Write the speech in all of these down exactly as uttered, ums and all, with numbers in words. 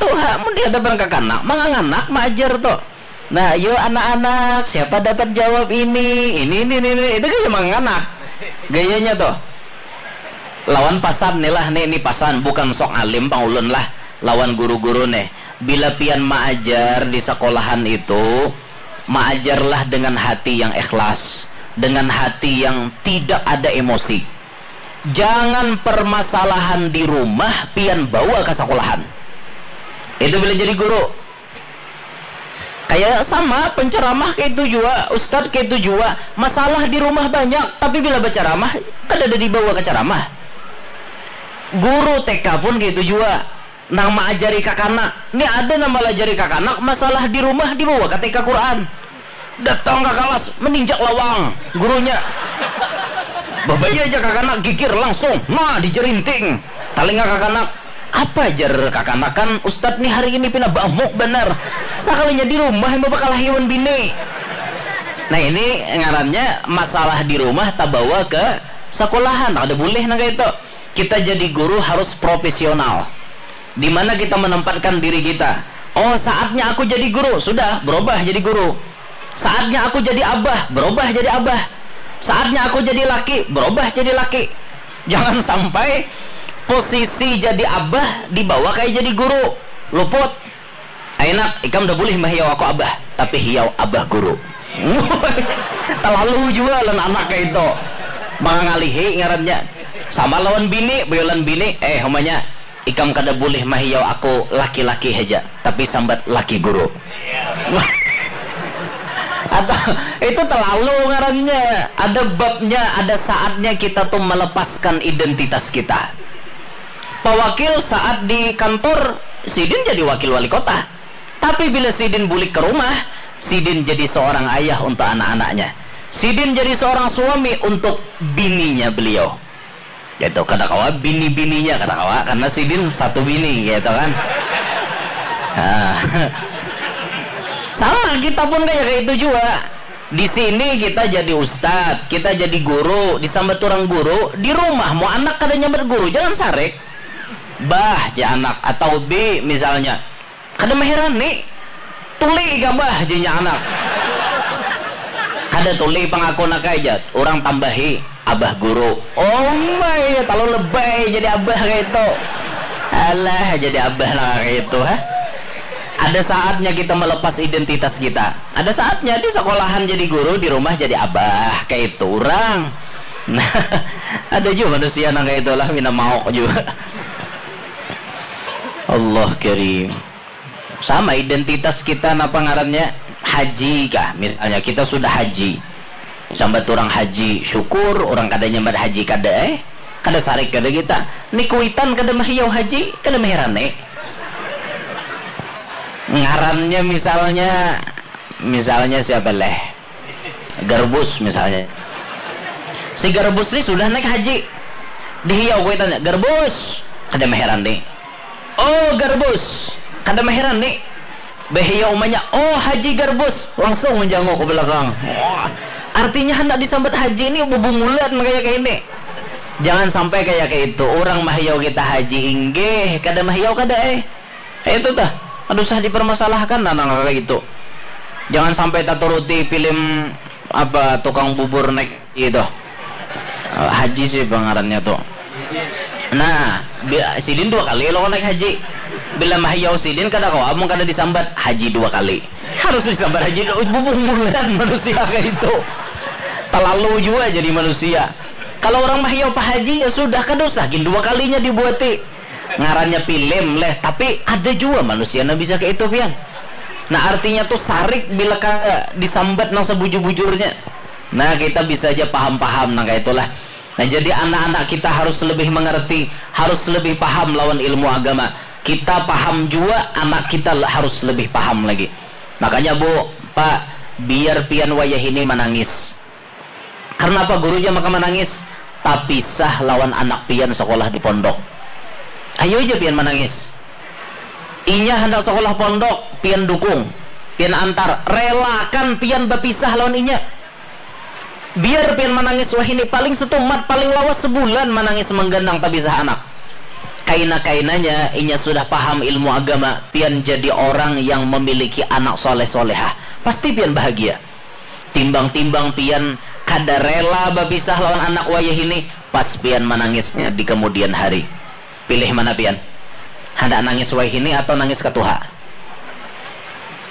Tuh ha, mun di hadapan kakanak manganganak maajar tuh. Nah, yo anak-anak, siapa dapat jawab ini, ini, ini, ini, ini. Itu gaya manganganak gayanya tuh. Lawan pasan nih lah, nih, ini pasan, bukan sok alim pang ulun lah, lawan guru-guru nih. Bila pian maajar di sekolahan itu, maajarlah dengan hati yang ikhlas, dengan hati yang tidak ada emosi. Jangan permasalahan di rumah pian bawa ke sekolahan. Itu bila jadi guru. Kayak sama penceramah kayak itu juga, ustadz kayak itu juga. Masalah di rumah banyak, tapi bila berceramah kada ada dibawa ke ceramah. Guru T K pun kayak itu juga. Nang maajari kakanak, ni ada nang malajari kakanak masalah di rumah dibawa ka T K Quran. Datang ka kalas, meninjak lawang gurunya. Babaya aja kakanak gigir langsung, nah dijerinting. Talinga kakanak, apa jar kakanak kan ustad ni hari ini pina bamuk banar. Sakalinya di rumah yang bakalahi wan bini. Nah ini ngarannya masalah di rumah tabawa ke sekolahan, kada boleh nang kaya itu. Kita jadi guru harus profesional. Di mana kita menempatkan diri kita? Oh, saatnya aku jadi guru. Sudah, berubah jadi guru. Saatnya aku jadi abah, berubah jadi abah. Saatnya aku jadi laki, berubah jadi laki. Jangan sampai posisi jadi abah dibawa kayak jadi guru. Luput. Ayo nak, ikam udah boleh mah hiau aku abah, tapi hiau abah guru. Terlalu juga lan anak kayak itu. Mangalihi ngarannya. Sama lawan bini, boyolan bini, eh umanya ikam kada boleh mah hiau aku laki-laki aja, tapi sambat laki guru. Atau itu terlalu ngarannya. Ada babnya, ada saatnya kita tuh melepaskan identitas kita. Pak Wakil saat di kantor, sidin jadi wakil wali kota. Tapi bila sidin bulik ke rumah, sidin jadi seorang ayah untuk anak-anaknya. Sidin jadi seorang suami untuk bininya beliau. Gitu, kada kawa bini-bininya, kada kawa, karena sidin satu bini, gitu kan. Nah. Sama, kita pun kayak, kayak itu juga. Di sini kita jadi ustad, kita jadi guru, disambat orang guru, di rumah mau anak kada nyambat guru, jangan sarik. Bah, ja anak, atau bi misalnya. Kada maherani. Tuli ka bah, jinya anak. Kada tuli pang aku nak ai, jar. Urang tambahi, abah guru. Oh mai, talalu lebay jadi abah kaitu. Alah, jadi abah nang kaitu, ha. Ada saatnya kita melepas identitas kita. Ada saatnya di sekolahan jadi guru, di rumah jadi abah, kaitu urang. Nah, ada jua manusia nang kaitu lah, pina mauk jua. Allah Karim. Sama identitas kita napa ngarannya? Haji kah? Misalnya kita sudah haji. Sambat urang haji, syukur, urang kada nyambat haji kada, eh. Kada sarik kada kita. Ni kuitan kada mahiau haji, kada maherane. Ngarannya misalnya, misalnya siapa leh? Garbus misalnya. Si Garbus ni sudah naik haji. Dihiau kuitannya, "Garbus." Kada maherane. "Oh, Garbus." Kada maherane. Behiau umanya, "Oh, Haji Garbus." Langsung menjanguk ke belakang. Wah. Artinya hendak disambat haji ni bubungulan kayak ini. Jangan sampai kayak itu. Orang mahiau kita haji inggih, kada mahiau kada, eh. Itu tah, kada usah dipermasalahkan nah nang kaya itu. Jangan sampai taturuti film apa tukang bubur naik itu. Eh, haji sih pengarannya tuh. Nah, bi- sidin dua kali lo naik haji. Bila mahiau sidin kada kawa mun kada disambat haji dua kali. Harus disambat haji dua, bubungulan manusia kayak itu. Terlalu juga jadi manusia. Kalau orang mahiau Pak Haji ya sudah kada usah gin dua kalinya dibuati. Ngarannya film leh, tapi ada jua manusia nang bisa kaya itu pian. Nah, artinya tuh sarik bila kada disambat nang sabujur-bujurnya. Nah, kita bisa aja paham-paham nang kaya itulah. Nah, jadi anak-anak kita harus lebih mengerti, harus lebih paham lawan ilmu agama. Kita paham jua, anak kita le- harus lebih paham lagi. Makanya, Bu, Pak, biar pian wayah ini manangis. Karna apa guru ja maka manangis? Tapisah lawan anak pian sakolah di pondok. Ayu ja pian manangis. Inya handak sakolah pondok, pian dukung, pian antar, relakan pian bapisah lawan inya. Biar pian manangis wahini, paling setumat, paling lawas sebulan manangis mangganang tapisah anak. Kaina-kainanya inya sudah paham ilmu agama, pian jadi orang yang memiliki anak soleh-solehah. Pasti pian bahagia. Timbang-timbang pian kada rela bapisah lawan anak wayahini, pas pian manangisnya di kemudian hari. Pilih mana pian? Handak nangis wayahini atau nangis katuha?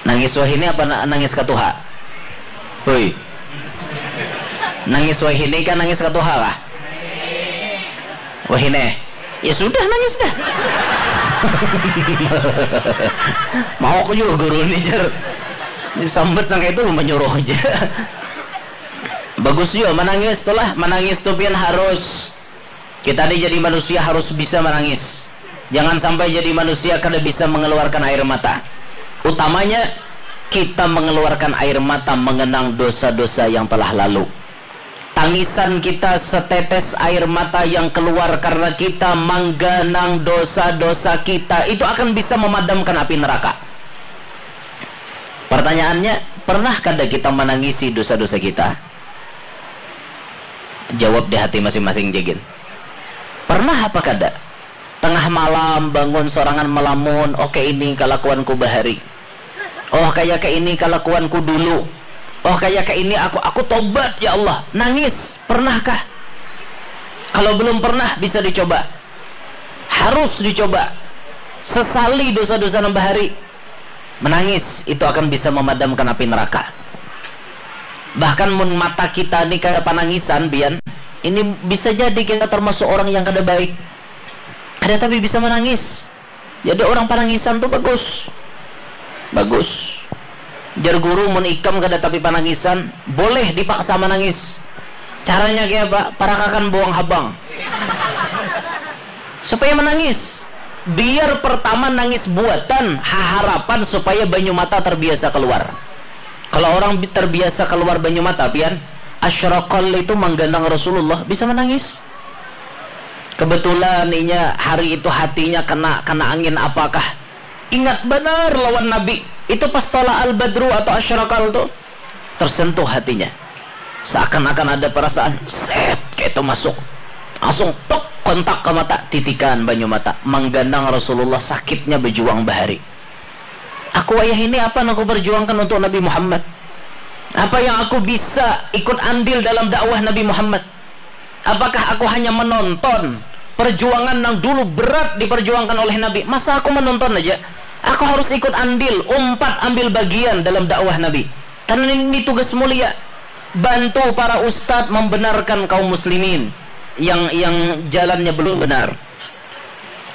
Nangis wahini apa na- nangis katuha? Hui. Nangis wahini kah nangis katuha kah? Wahini. Ya sudah nangis dah. Mau aku juga guru ni jar. Sambat nang itu menyuruh aja. Bagus juga menangis tuh lah. Menangis tuh pian harus Kita ni jadi manusia harus bisa menangis. Jangan sampai jadi manusia kada bisa mengeluarkan air mata. Utamanya kita mengeluarkan air mata mengenang dosa-dosa yang telah lalu. Tangisan kita setetes air mata yang keluar karena kita mangganang dosa-dosa kita itu akan bisa memadamkan api neraka. Pertanyaannya, pernah kada kita menangisi dosa-dosa kita? Jawab di hati masing-masing jagin. Pernah apa kada? Tengah malam bangun sorangan melamun, oh kayak ini kelakuanku bahari. Oh kayak kayak ini kelakuanku dulu. Oh kayak kayak ini aku aku tobat ya Allah. Nangis, pernahkah? Kalau belum pernah bisa dicoba. Harus dicoba. Sesali dosa-dosa nang bahari. Menangis itu akan bisa memadamkan api neraka. Bahkan mun mata kita ni kada panangisan, Bian, ini bisa jadi kita termasuk orang yang kada baik. Kada tapi bisa menangis. Jadi orang panangisan tu bagus. Bagus. Jar guru, mun ikam kada tapi panangisan, boleh dipaksa menangis. Caranya kayak apa? Parakakan buang habang. Supaya menangis. Biar pertama nangis buatan, haharapan supaya banyu mata terbiasa keluar. Kalau orang terbiasa keluar banyu mata, pian, asyraqal itu mangganang Rasulullah, bisa menangis. Kebetulan inya hari itu hatinya kena kena angin apakah. Ingat banar lawan Nabi. Itu pas tola al-badru atau asyraqal tu. Tersentuh hatinya. Seakan-akan ada perasaan, set, kayak itu masuk. Langsung tok kontak ke mata, titikan banyu mata. Mangganang Rasulullah sakitnya berjuang bahari. Aku ayah ini apa yang aku perjuangkan untuk Nabi Muhammad? Apa yang aku bisa ikut andil dalam dakwah Nabi Muhammad? Apakah aku hanya menonton perjuangan yang dulu berat diperjuangkan oleh Nabi? Masa aku menonton aja? Aku harus ikut andil, umpat ambil bagian dalam dakwah Nabi. Karena ini, ini tugas mulia. Bantu para ustadz membenarkan kaum muslimin yang yang jalannya belum benar.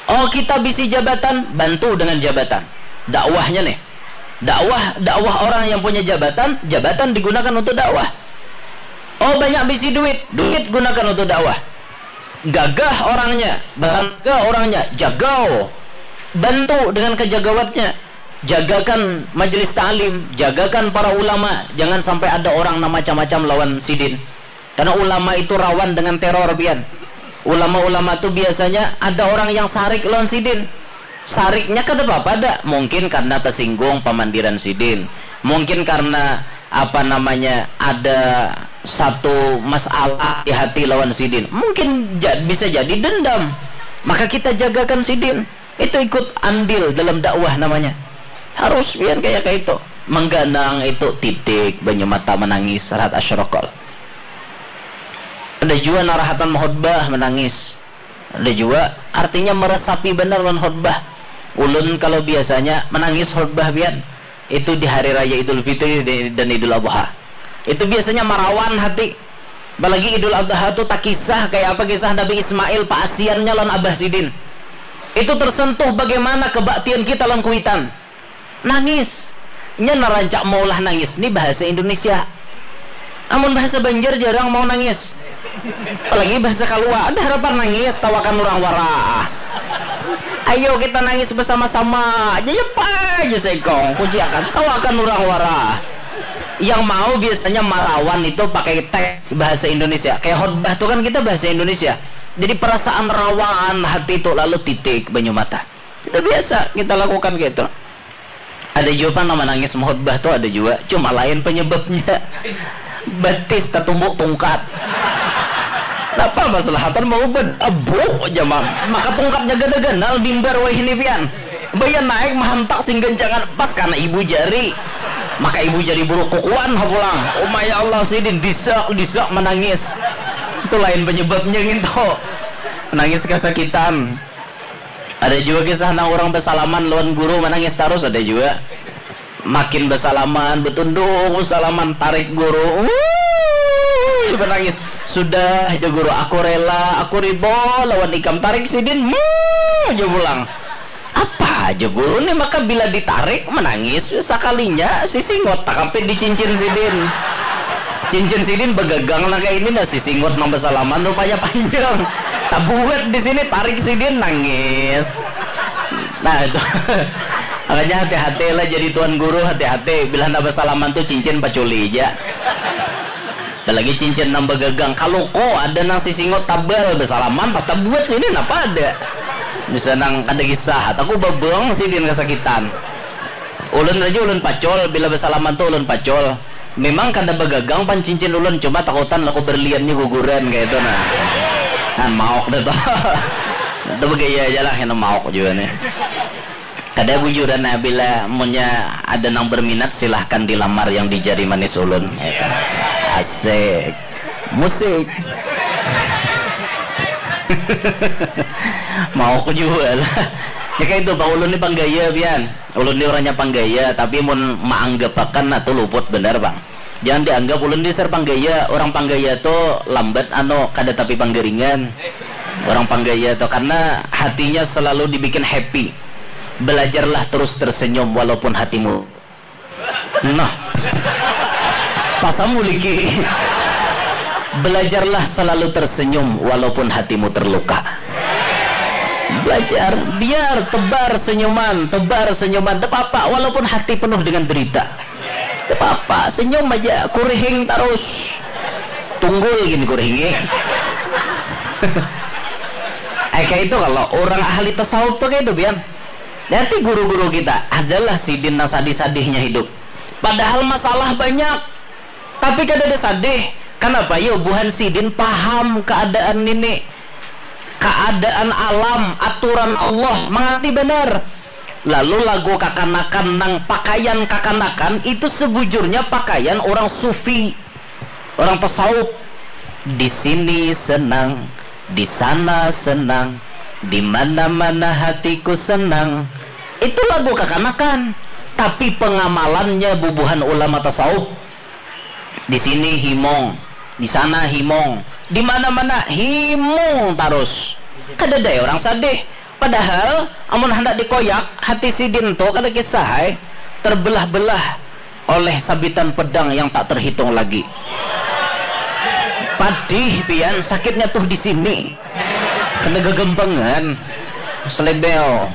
Oh kita bisi jabatan, bantu dengan jabatan. Dakwahnya nih. Dakwah, dakwah orang yang punya jabatan, jabatan digunakan untuk dakwah. Oh banyak bisi duit, duit gunakan untuk dakwah. Gagah orangnya, bangga orangnya, jagau. Bantu dengan kejagawatnya. Jagakan majelis ta'lim, jagakan para ulama, jangan sampai ada orang nang macam-macam lawan sidin. Karena ulama itu rawan dengan teror pian. Ulama-ulama tu biasanya ada orang yang sarik lawan sidin. Sariknya kada apa-apa ada. Mungkin karena tersinggung pamandiran sidin. Mungkin karena apa namanya ada satu masalah di hati lawan sidin. Mungkin ja- bisa jadi dendam. Maka kita jagakan sidin. Itu ikut andil dalam dakwah namanya. Harus pian kayak kayak itu. Mengganang itu titik banyu mata menangis saat asyraqal. Ada jua narahatan mahutbah menangis. Ada jua artinya meresapi benar lawan khutbah. Ulun kalau biasanya menangis khutbah pian itu di hari raya Idul Fitri dan Idul Adha. Itu biasanya marawan hati. Apalagi Idul Adha tu takisah kayak apa kisah Nabi Ismail paasiannya lawan abah sidin. Itu tersentuh bagaimana kebaktian kita lawan kuitan. Nangis. Nya narancak maulah nangis ni bahasa Indonesia. Amun bahasa Banjar jarang mau nangis. Apalagi bahasa Kalua, ada harapan nangis, tawakan urang wara. Ayo kita nangis bersama-sama. Aja ya pa aja sekong, puji akan tawakan urang wara. Yang mau biasanya marawan itu pakai teks bahasa Indonesia. Kayak khotbah tuh kan kita bahasa Indonesia. Jadi perasaan rawan hati itu lalu titik banyu mata. Itu biasa kita lakukan gitu. Ada jua pang nang manangis mahutbah tu ada jua, cuma lain penyebabnya. Betis tatumbuk tungkat. Napa masalahatan mau bed abuh jama maka tungkapnya gana ganal mimbar wahini pian. Baya naik mahantak sing gancangan pas kana ibu jari. Maka ibu jari buruk kukuan ha pulang. Uma ya Allah sidin disak disak manangis. Itu lain penyebabnya nginto. Nangis kasakitan. Ada jua kisah nang urang basalaman lawan guru manangis tarus ada jua. Makin basalaman, batunduk basalaman, tarik guru. Uuuuh, iba nangis. Sudah, jar guru, aku rela, aku riba lawan ikam, tarik sidin. Mmm, jar pulang. Apa, jar guru, ni maka bila ditarik manangis, sakalinya sisingot takapit di cincin sidin. Cincin sidin bagagang nang kaya ini nah, sisingot nang basalaman rupanya panjang. Tabuat di sini, tarik sidin, nangis. Nah, itu. Makanya hati-hati lah jadi tuan guru, hati-hati. Bila handak basalaman tu cincin paculi ja. Ada lagi cincin nang bagagang. Kaluko ada nang sisingot tabal, basalaman pas tabuat sini napa ada. Bisa nang kada kisah, aku babang sidin kasakitan. Ulun aja ulun pacol, bila basalaman tu ulun pacol. Memang kada bagagang pan cincin ulun, cuma takutan laku berliannya guguran kaya itu nah. Nah, maok dah tu. Itu bagaya aja lah, kena maok juga nih. Kada bujuran nah, bila munnya ada nang berminat silahkan dilamar yang di jari manis ulun. Asik. Musik. Mau aku jua lah. Ya kayak itu bang ulun ni panggaya pian. Ulun ni orangnya panggaya tapi mun maanggapakan nah tu luput benar bang. Jangan dianggap ulun ni ser panggaya. Orang panggaya tu lambat anu kada tapi panggaringan. Orang panggaya tu karena hatinya selalu dibikin happy. Belajarlah terus tersenyum walaupun hatimu. Nah. Pasamu liki. Belajarlah selalu tersenyum walaupun hatimu terluka. Belajar, biar tebar senyuman, tebar senyuman, tak apa-apa walaupun hati penuh dengan derita. Tak apa-apa, senyum aja, kurihing terus. Tunggul gini kurihingnya. Eh kayak itu kalau orang ahli tasawuf tuh kayak itu biar. Nanti guru-guru kita adalah sidin nang sadih-sadihnya hidup. Padahal masalah banyak, tapi kada ada sadih. Kenapa yo buhan sidin paham keadaan ini, keadaan alam, aturan Allah, mengerti benar. Lalu lagu kakanakan nang pakaian kakanakan itu sebujurnya pakaian orang sufi. Orang tasawuf di sini senang, di sana senang, di mana-mana hatiku senang. Itu lagu kakanakan, tapi pengamalannya bubuhan ulama tasawuf. Di sini himong, di sana himong, di mana-mana himong tarus. Kada ada orang sadih. Padahal amun handak dikoyak, hati sidin tu kada kisah ai terbelah-belah oleh sabitan pedang yang tak terhitung lagi. Padih pian sakitnya tuh di sini. Kena gegempengan. Selebel.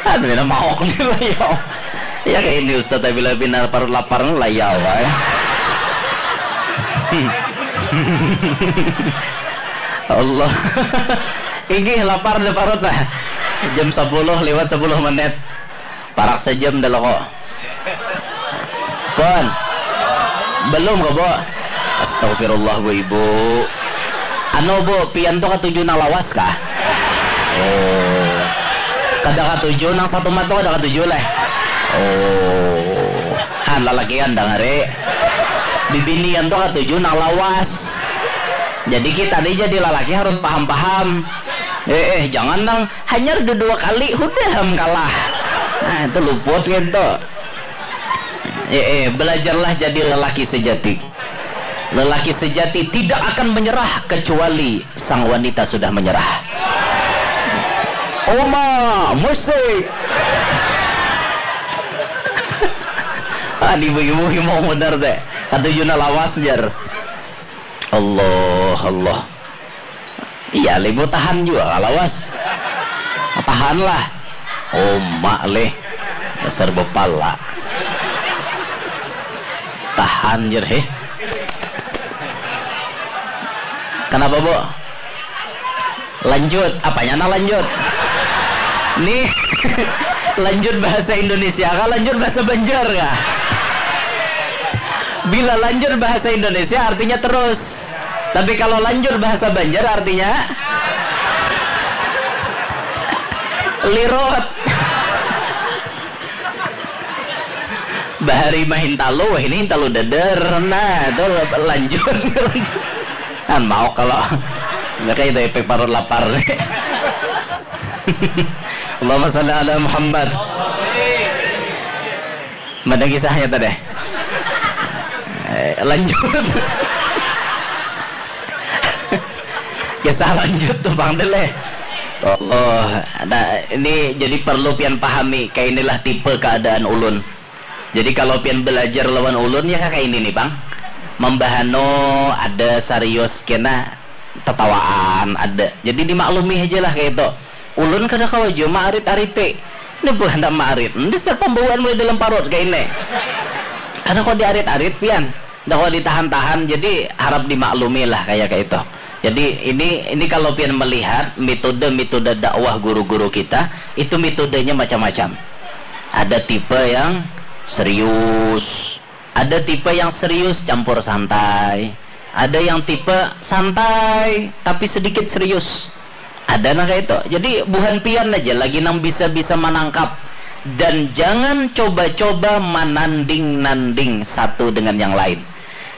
Aduh, enak mau nih lah ya. Ya kayak ini Ustaz, bila bina parut lapar lah ya Allah. Allah. Inggih lapar dah parut lah. Jam sepuluh lewat sepuluh menit. Parak sejam dah lo kok. Pon. Belum kok, Bu. Astagfirullah, Bu Ibu. Anu, Bu, pian tuh katuju nang lawas kah? Oh. Kada katuju nang satu mata kada katuju leh. Oh. Han lalakian dangari. Bibinian tuh katuju nang lawas. Jadi kita nih jadi lalaki harus paham-paham. Eh, eh, jangan nang hanyar dua kali hudah am kalah. Nah, itu luput gitu. Eh, eh, belajarlah jadi lelaki sejati. Lelaki sejati tidak akan menyerah kecuali sang wanita sudah menyerah. Oma, musik. Ah, di bagi-bagi mau benar teh. Kata Juna lawas jar. Allah, Allah. Iya, libu tahan juga kalau lawas. Tahanlah. Oma leh. Dasar bepala. Tahan jer heh. Kenapa, Bu? Lanjut. Apanya nah lanjut? Nih. Lanjut bahasa Indonesia kah? Lanjut bahasa Banjar kah? Bila lanjur bahasa Indonesia artinya terus. Tapi kalau lanjur bahasa Banjar artinya lirut. Bahari mahintalu, wah ini hintalu deder. Nah, itu lanjur. Kan mau kalau mereka itu efek parut lapar. Allahumma salli ala Muhammad. Mana kisahnya tadi? Eh, lanjut. Kisah lanjut tuh Bang Del eh. Oh, nah, ini jadi perlu pian pahami, kayak inilah tipe keadaan ulun. Jadi kalau pian belajar lawan ulun ya kayak ini nih Bang. Membahano ada serius kena tetawaan ada. Jadi dimaklumi aja lah kayak itu. Ulun kada kawa jua maarit-ariti. Ini pula handak maarit. Ini dasar pembawaan mulai dalam parut kayak ini. Kada kawa diarit-arit pian. Kada kawa ditahan-tahan. Jadi harap dimaklumi lah kayak kayak itu. Jadi ini ini kalau pian melihat metode-metode dakwah guru-guru kita itu metodenya macam-macam. Ada tipe yang serius, ada tipe yang serius campur santai, ada yang tipe santai tapi sedikit serius. Ada nah kayak itu. Jadi buhan pian aja lagi nang bisa-bisa menangkap dan jangan coba-coba menanding-nanding satu dengan yang lain.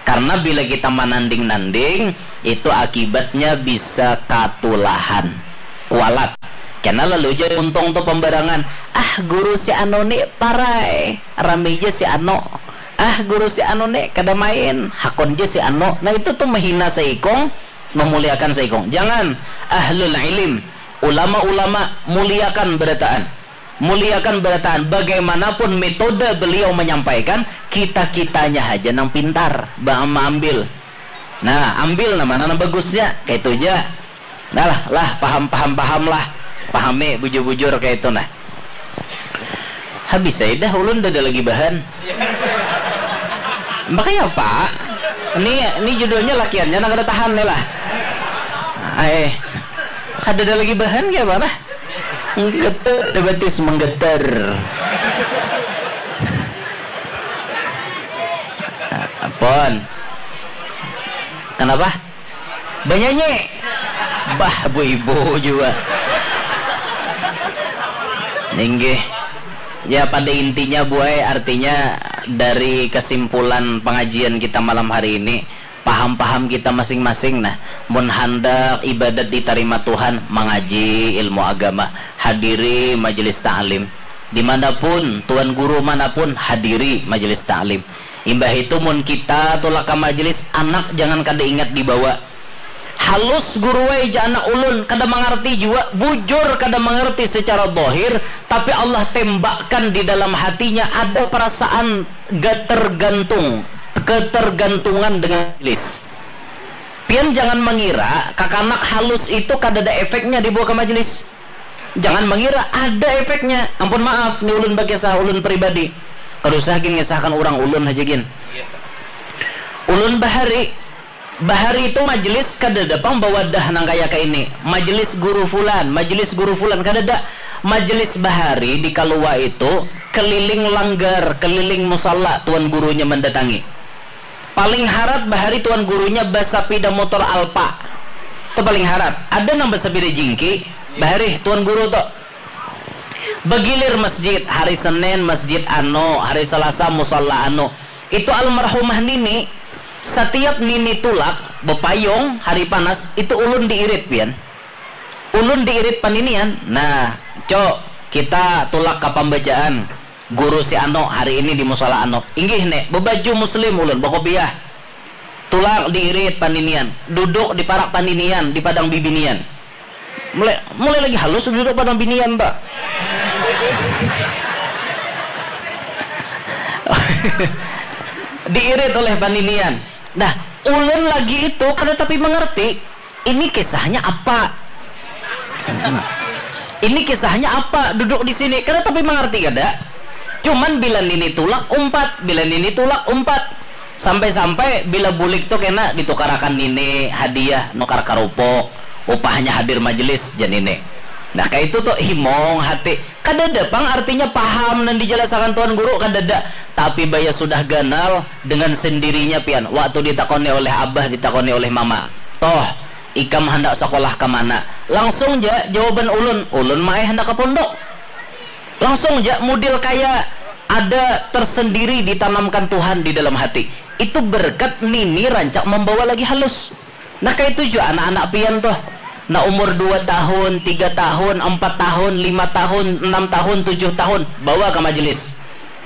Karena bila kita menanding-nanding, itu akibatnya bisa katulahan. Kualat. Karena lalu aja untung tuh pembarangan. Ah, guru si anu ni parai. Rami aja si anu. Ah, guru si anu ni kada main. Hakun aja si anu. Nah, itu tuh menghina seikung, memuliakan seikung. Jangan. Ahlul ilim, ulama-ulama muliakan berataan. Muliakan berataan. Bagaimanapun metode beliau menyampaikan, kita-kitanya aja nang pintar ba- mengambil. Nah, ambil nah mana nang bagusnya, kayak itu aja. Nah lah, lah paham paham paham lah, pahami bujur-bujur kayak itu nah. Habis saya dah ulun dah ada lagi bahan. Makanya apa? Ini ini judulnya lakiannya nang kada tahan nih lah. Eh, kada ada lagi bahan kayak apa nah? Menggetar, debatis menggetar. Apon? Kenapa? Banyanyi. Bah, bu ibu juga. Ninggih. Ya pada intinya buai artinya dari kesimpulan pengajian kita malam hari ini paham-paham kita masing-masing nah mun handak ibadat ditarima Tuhan mangaji ilmu agama hadiri majelis ta'lim dimanapun tuan guru manapun hadiri majelis ta'lim imbah itu mun kita tulak ke majelis anak jangan kada ingat dibawa Halus guruai ja anak ulun, kada mangarti jua, bujur kada mangarti secara dohir, tapi Allah tembakkan di dalam hatinya ada perasaan gatergantung, ketergantungan dengan majelis. Pian jangan mengira kakanak halus itu kadada efeknya dibawa ke majelis. Jangan mengira ada efeknya. Ampun maaf, ni ulun bakisah ulun pribadi. Kada usah gin ngisahkan urang ulun haja gin. Ulun bahari Bahari itu majelis kadada pang bawadah nang kaya kaini. Majelis guru fulan, majelis guru fulan kadada. Majelis bahari di kalua itu keliling langgar, keliling musala tuan gurunya mandatangi. Paling harat bahari tuan gurunya basapida motor Alpa. Itu paling harat. Ada nang basapida jingki, bahari tuan guru tu. Bagilir masjid, hari Senin masjid anu, hari Selasa musala anu. Itu almarhumah nini, satiap nini tulak bepayung hari panas itu ulun diirit pian. Ulun diirit paninian. Nah, co, kita tulak ka pambacaan guru si anu hari ini di musala anu. Inggih ne, bebaju muslim ulun, bekopiah. Tulak diirit paninian, duduk di parak paninian di padang bibinian. Mulai mulai lagi halus duduk padang binian ta. Diirit oleh paninian. Nah, ulun lagi itu kada tapi mengerti ini kisahnya apa. Ini kisahnya apa duduk di sini kada tapi mengerti kada. Cuman bila nini tulak umpat, bila nini tulak umpat. Sampai-sampai bila bulik tu kena ditukarakan nini hadiah nukar karupuk, upahnya hadir majelis jar nini. Nah, kaitu tu himung hati. Kadada pang artinya paham nang dijalasakan Tuan Guru, kadada. Tapi baya sudah ganal, dengan sendirinya pian, waktu ditakoni oleh abah, ditakoni oleh mama, "Toh, ikam handak sakolah ka mana?" Langsung ja jawaban ulun, "Ulun ma ai handak ka pondok." Langsung ja mudil kaya ada tersendiri ditanamkan Tuhan di dalam hati. Itu berkat nini rancak mambawa lagi halus. Nah, kaitu jua anak-anak pian tuh. Nah, umur dua tahun, tiga tahun, empat tahun, lima tahun, enam tahun, tujuh tahun, bawa ka majelis.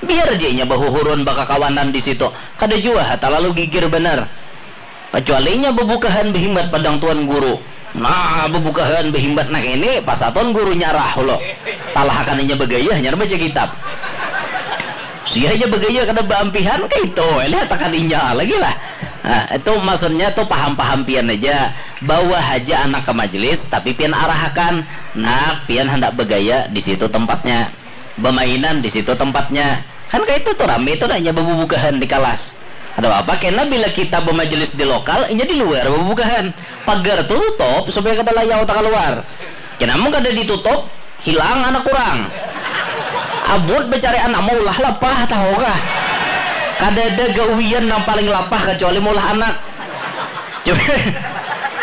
Biar ja inya bahuhurun, bakakawanan di situ. Kada jua ha talalu gigir banar. Kacuali inya babukahan bahimbat padang tuan guru. Nah, babukahan bahimbat nang ini, pas tuan guru nyarah lo. Talahakan inya bagaya hanyar baca kitab. Sia aja bagaya kada baampihan, kaitu ai lihatakan inya lagi lah. Nah, itu maksudnya tu paham-paham pian aja. Bawa haja anak ka majelis, tapi pian arahakan, "Nak, pian handak bagaya, di situ tempatnya. Bamainan, di situ tempatnya." Kan kaitu tu rami tu nah inya babubukahan di kalas. Kada apa-apa kena bila kita bamajelis di lokal, inya di luar babubukahan. Pagar tutup supaya kada layau takaluar. Kena mun kada ditutup, hilang anak urang. Abut bacari anak maulah lapah, tahu kah? Kadada gawian nang paling lapah kacuali maulah anak. Coba,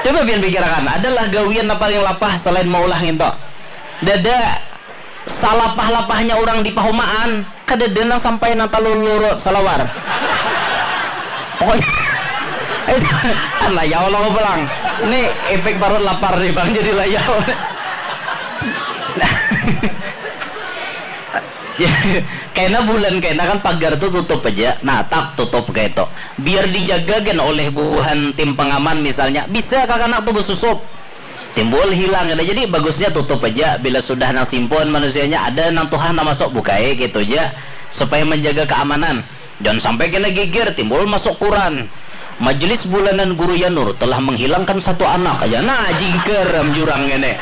coba pian pikirakan, adalah gawian nang paling lapah selain maulah nginto? Dada. Salapah-lapahnya urang di pahumaan, kadada nang sampai nang talulur salawar. Pokoknya, kan layau lo pulang. Ini efek parut lapar nih bang, jadi layau. Kena bulan kena kan pagar tuh tutup aja, nah tak tutup kayak itu. Biar dijaga kan oleh buhan tim pengaman misalnya, bisa kakanak tuh besusup. Timbul hilang kada. Jadi bagusnya tutup aja bila sudah nang simpun manusianya, ada nang tuha nang masuk bukai gitu aja supaya menjaga keamanan. Jangan sampai kena geger timbul masuk kuran. Majelis bulanan Guru Yanur telah menghilangkan satu anak aja. Nah, jingker am jurang ini.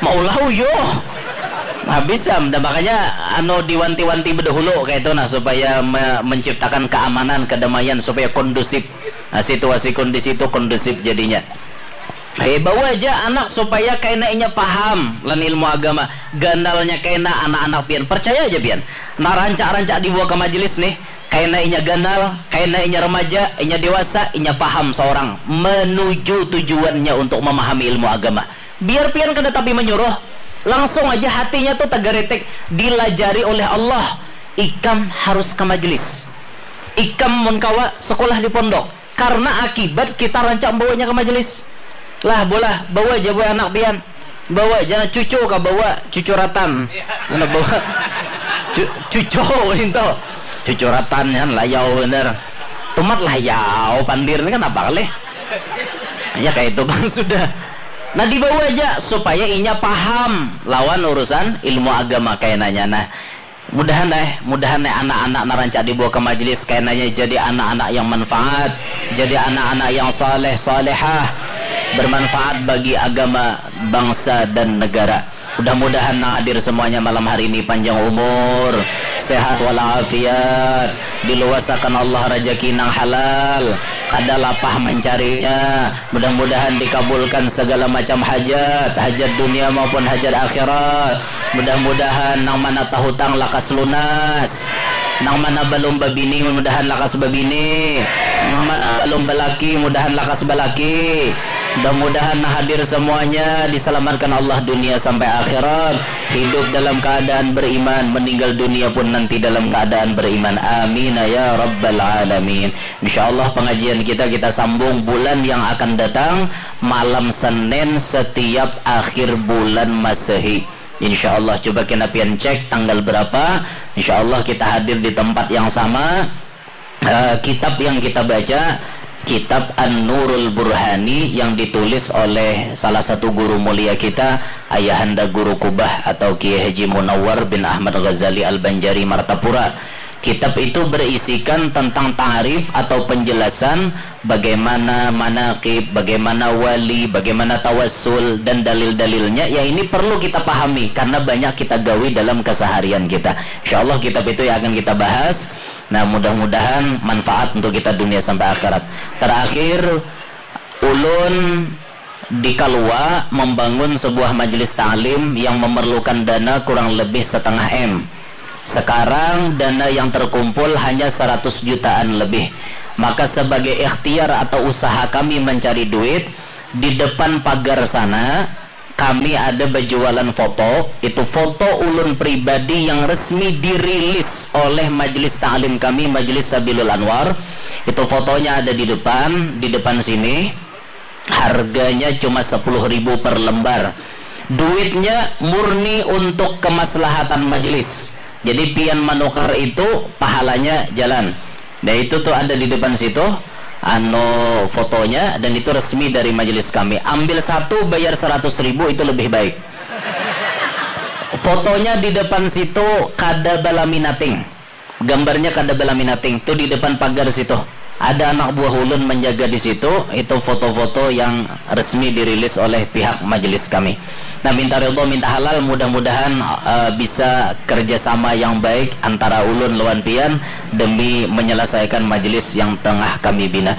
Maulah uyuh. Habis am. Dan makanya anu diwanti-wanti bedahulu kayak itu nah supaya me- menciptakan keamanan, kedamaian supaya kondusif. Nah, situasi kondisi itu kondusif jadinya. Eh, bawa aja anak supaya kaina inya paham lan ilmu agama. Ganalnya kaina anak-anak pian, percaya aja pian. Nah, rancak-rancak dibawa ke majelis nih, kaina inya ganal, kaina inya remaja, inya dewasa, inya paham seorang menuju tujuannya untuk memahami ilmu agama. Biar pian kada tapi menyuruh, langsung aja hatinya tuh tagaretek, dilajari oleh Allah. Ikam harus ke majelis. Ikam mun kawa sekolah di pondok. Karena akibat kita rancak membawanya ke majelis. Lah, bolah, bawa aja buah anak pian. Bawa aja cucu ka bawa, cucu ratan. Mana bawa? Cu- cucu itu. Cucu ratan kan layau bener. Tumat layau, pandir ini kan apa kali? Ya kayak itu bang sudah. Nah dibawa aja supaya inya paham lawan urusan ilmu agama kayak nanya. Nah, mudahan eh mudahan eh anak-anak narancak dibawa ke majelis kainanya jadi anak-anak yang manfaat, jadi anak-anak yang saleh salehah, bermanfaat bagi agama, bangsa dan negara. Mudah-mudahan nang hadir semuanya malam hari ini panjang umur, sehat walafiat, diluasakan Allah rajaki nang halal, kada lapah mencarinya. Mudah-mudahan dikabulkan segala macam hajat, hajat dunia maupun hajat akhirat. Mudah-mudahan nang mana tahutang lakas lunas. Nang mana balum babini mudahan lakas babini. Nang mana balum balaki mudahan lakas balaki. Mudah-mudahan nang hadir semuanya diselamatkan Allah dunia sampai akhirat. Hidup dalam keadaan beriman, meninggal dunia pun nanti dalam keadaan beriman. Amin ya rabbal alamin. Insya Allah pengajian kita kita sambung bulan yang akan datang malam Senin setiap akhir bulan Masehi. Insya Allah coba kena pian cek tanggal berapa. Insya Allah kita hadir di tempat yang sama. Eh, kitab yang kita baca kitab An-Nurul Burhani yang ditulis oleh salah satu guru mulia kita, Ayahanda Guru Kubah atau Kiai Haji Munawar bin Ahmad Ghazali Al-Banjari Martapura. Kitab itu berisikan tentang ta'rif atau penjelasan bagaimana manaqib, bagaimana wali, bagaimana tawassul dan dalil-dalilnya. Ya ini perlu kita pahami karena banyak kita gawi dalam keseharian kita. Insya Allah kitab itu yang akan kita bahas. Nah, mudah-mudahan manfaat untuk kita dunia sampai akhirat. Terakhir, ulun Di Kalua membangun sebuah majelis ta'lim yang memerlukan dana kurang lebih setengah M. Sekarang dana yang terkumpul hanya seratus jutaan lebih. Maka sebagai ikhtiar atau usaha kami mencari duit, di depan pagar sana kami ada berjualan foto, itu foto ulun pribadi yang resmi dirilis oleh majelis ta'lim kami, Majelis Sabilul Anwar. Itu fotonya ada di depan, di depan sini. Harganya cuma sepuluh ribu per lembar. Duitnya murni untuk kemaslahatan majelis. Jadi pian manukar itu pahalanya jalan. Nah, itu tuh ada di depan situ, anu, fotonya, dan itu resmi dari majelis kami. Ambil satu, bayar seratus ribu, itu lebih baik. Fotonya di depan situ kada balaminating. Gambarnya kada balaminating, tu di depan pagar situ. Ada anak buah ulun menjaga di situ, itu foto-foto yang resmi dirilis oleh pihak majelis kami. Nah, minta ridho, minta halal, mudah-mudahan eh, bisa kerjasama yang baik antara ulun lawan pian demi menyelesaikan majelis yang tengah kami bina.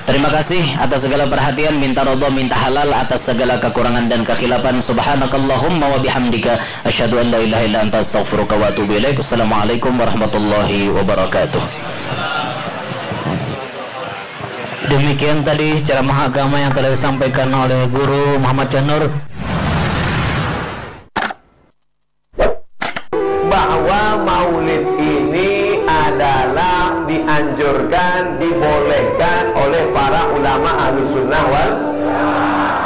Terima kasih atas segala perhatian, minta ridho, minta halal atas segala kekurangan dan kekhilafan. Subhanakallahumma wa bihamdika, asyhadu an la ilaha illa anta, astaghfiruka wa atubu ilaik. Wassalamualaikum warahmatullahi wabarakatuh. Demikian tadi ceramah agama yang telah disampaikan oleh Guru Muhammad Janur. Bahwa maulid ini adalah dianjurkan, dibolehkan oleh para ulama Ahlus Sunnah wal.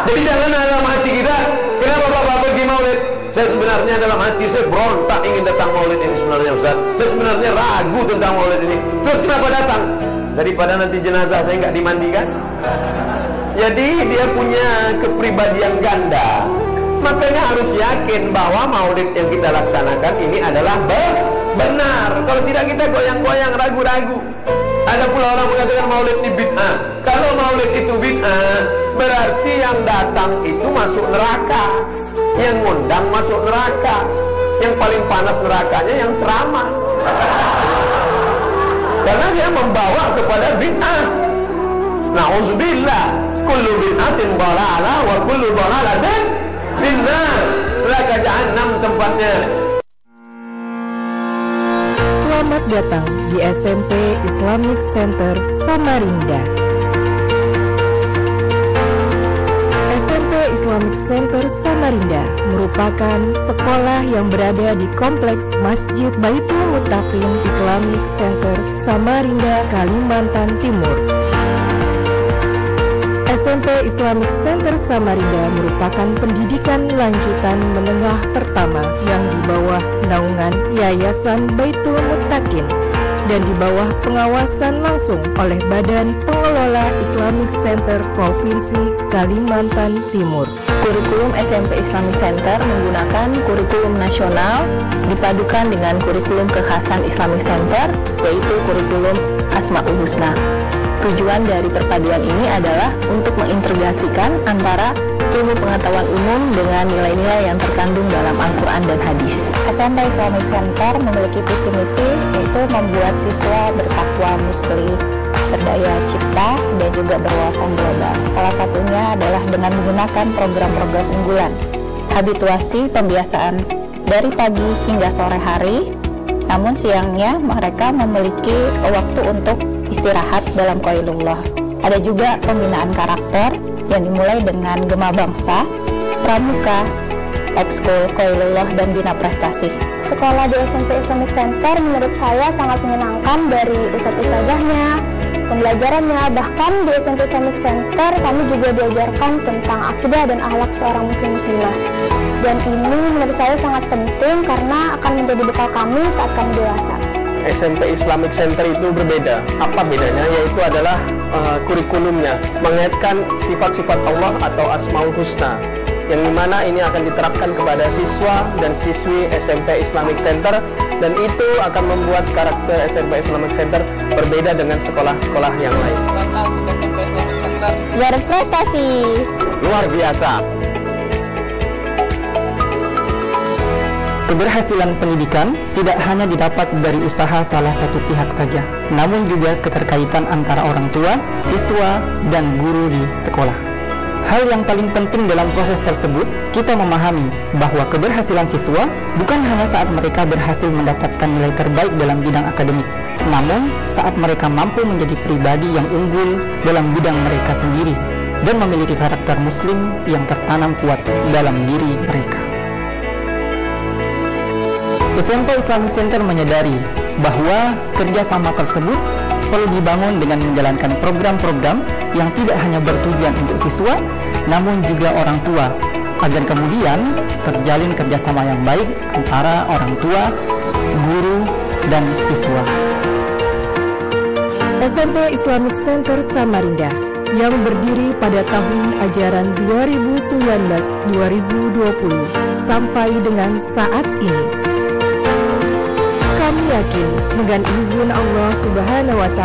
Jadi jangan dalam hati kita, kenapa Bapak pergi maulid? Saya sebenarnya dalam hati saya berontak ingin datang maulid ini sebenarnya, Ustaz. Saya sebenarnya ragu tentang maulid ini. Terus kenapa datang? Daripada nanti jenazah saya nggak dimandikan. Jadi dia punya kepribadian ganda. Makanya harus yakin bahwa maulid yang kita laksanakan ini adalah be- benar. Kalau tidak kita goyang-goyang, ragu-ragu. Ada pula orang mengatakan maulid ini bid'ah. Kalau maulid itu bid'ah, berarti yang datang itu masuk neraka. Yang ngundang masuk neraka. Yang paling panas nerakanya yang ceramah. Karena dia membawa kepada bid'ah. Nauzubillah. Kullu bid'atin dalalah wa kullu dalalatin finnar. Neraka jahanam tempatnya. Selamat datang di S M P Islamic Center Samarinda. S M P Islamic Center Samarinda merupakan sekolah yang berada di Kompleks Masjid Baitul Muttaqin Islamic Center Samarinda, Kalimantan Timur. S M P Islamic Center Samarinda merupakan pendidikan lanjutan menengah pertama yang di bawah naungan Yayasan Baitul Muttaqin dan di bawah pengawasan langsung oleh Badan Pengelola Islamic Center Provinsi Kalimantan Timur. Kurikulum S M P Islamic Center menggunakan kurikulum nasional dipadukan dengan kurikulum kekhasan Islamic Center, yaitu kurikulum Asmaul Husna. Tujuan dari perpaduan ini adalah untuk mengintegrasikan antara ilmu pengetahuan umum dengan nilai-nilai yang terkandung dalam Al-Quran dan hadis. S M P Islamic Center memiliki visi misi, yaitu membuat siswa bertakwa, muslih, berdaya cipta, dan juga berwawasan global. Salah satunya adalah dengan menggunakan program-program unggulan, habituasi, pembiasaan dari pagi hingga sore hari, namun siangnya mereka memiliki waktu untuk istirahat dalam qailullah. Ada juga pembinaan karakter yang dimulai dengan gema bangsa, pramuka, ekskul, qailullah, dan bina prestasi. Sekolah di S M P Islamic Center menurut saya sangat menyenangkan, dari ustadz-ustazahnya, pembelajarannya, bahkan di S M P Islamic Center kami juga diajarkan tentang akidah dan akhlak seorang muslim muslimah. Dan ini menurut saya sangat penting karena akan menjadi bekal kami saat kami dewasa. S M P Islamic Center itu berbeda. Apa bedanya? Yaitu adalah eh, kurikulumnya, mengaitkan sifat-sifat Allah atau Asmaul Husna, yang dimana ini akan diterapkan kepada siswa dan siswi S M P Islamic Center, dan itu akan membuat karakter S M P Islamic Center berbeda dengan sekolah-sekolah yang lain. Berprestasi. Luar biasa. Keberhasilan pendidikan tidak hanya didapat dari usaha salah satu pihak saja, namun juga keterkaitan antara orang tua, siswa, dan guru di sekolah. Hal yang paling penting dalam proses tersebut, kita memahami bahwa keberhasilan siswa bukan hanya saat mereka berhasil mendapatkan nilai terbaik dalam bidang akademik, namun saat mereka mampu menjadi pribadi yang unggul dalam bidang mereka sendiri dan memiliki karakter muslim yang tertanam kuat dalam diri mereka. S M P Islamic Center menyadari bahwa kerjasama tersebut perlu dibangun dengan menjalankan program-program yang tidak hanya bertujuan untuk siswa, namun juga orang tua, agar kemudian terjalin kerjasama yang baik antara orang tua, guru, dan siswa. S M P Islamic Center Samarinda yang berdiri pada tahun ajaran dua ribu sembilan belas dua ribu dua puluh sampai dengan saat ini. Kami yakin dengan izin Allah Subhanahu wa Ta'ala